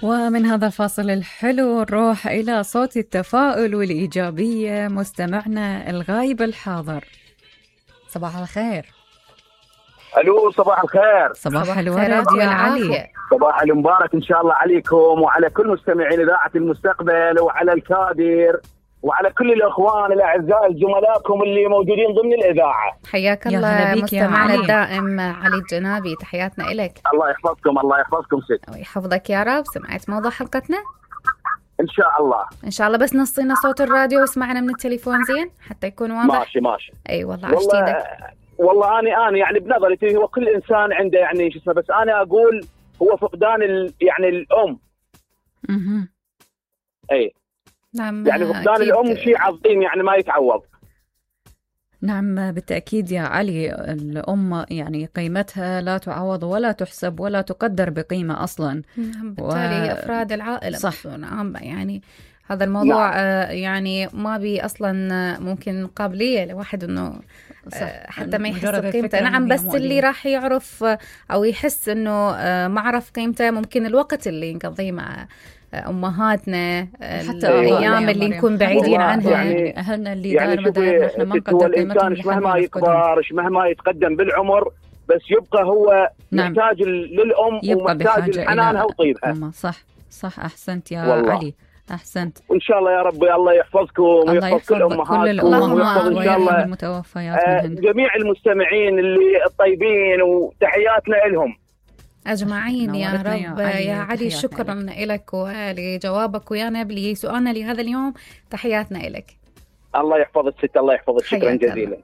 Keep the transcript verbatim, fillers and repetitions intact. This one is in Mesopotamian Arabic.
ومن هذا الفاصل الحلو نروح إلى صوت التفاؤل والإيجابية، مستمعنا الغايب الحاضر. صباح الخير. الو صباح الخير. صباح الورد يا علي. صباح المبارك ان شاء الله عليكم وعلى كل مستمعين اذاعه المستقبل، وعلى الكادر، وعلى كل الاخوان الاعزاء زملائكم اللي موجودين ضمن الاذاعه. حياك الله مستمعنا الدائم علي الجنابي، تحياتنا لك. الله يحفظكم الله يحفظكم ست ويحفظك يا رب. سمعت موضوع حلقتنا؟ ان شاء الله ان شاء الله، بس نصينا صوت الراديو واسمعنا من التليفون زين حتى يكون واضح. ماشي ماشي. اي والله عشتيدك. والله انا انا يعني بنظرتي هو كل انسان عنده يعني شو اسمه، بس انا اقول هو فقدان ال يعني الام. اها اي نعم، يعني فقدان الام شيء عظيم يعني ما يتعوض. نعم بالتأكيد يا علي، الأم يعني قيمتها لا تعوض ولا تحسب ولا تقدر بقيمة أصلا. نعم بالتالي و... أفراد العائلة صح يعني هذا الموضوع نعم. آه يعني ما بي أصلا ممكن قابلية لواحد إنه آه حتى ما يحس بقيمته. نعم بس اللي راح يعرف أو يحس إنه آه ما عرف قيمته ممكن الوقت اللي نقضيه مع أمهاتنا، حتى الأيام اللي نكون بعيدين عنها، يعني أهلنا اللي يعني دار مدارنا إحنا ما نقدر قيمتهم. مهما يكبر مهما يتقدم بالعمر بس يبقى هو نعم. محتاج للأم ومحتاج لحنانها وطيبها. صح صح أحسنت يا والله. علي أحسنت. وإن شاء الله يا رب الله يحفظكم ويحفظ كل أمهاتكم ويحفظ إن شاء الله المتوفيات آه جميع المستمعين اللي الطيبين، وتحياتنا لهم أجمعين يا رب. يا, يا علي شكرا لك ولجوابك ويانا لسؤالنا لهذا اليوم. تحياتنا لك. الله يحفظك ست، الله يحفظك. شكرا جزيلا.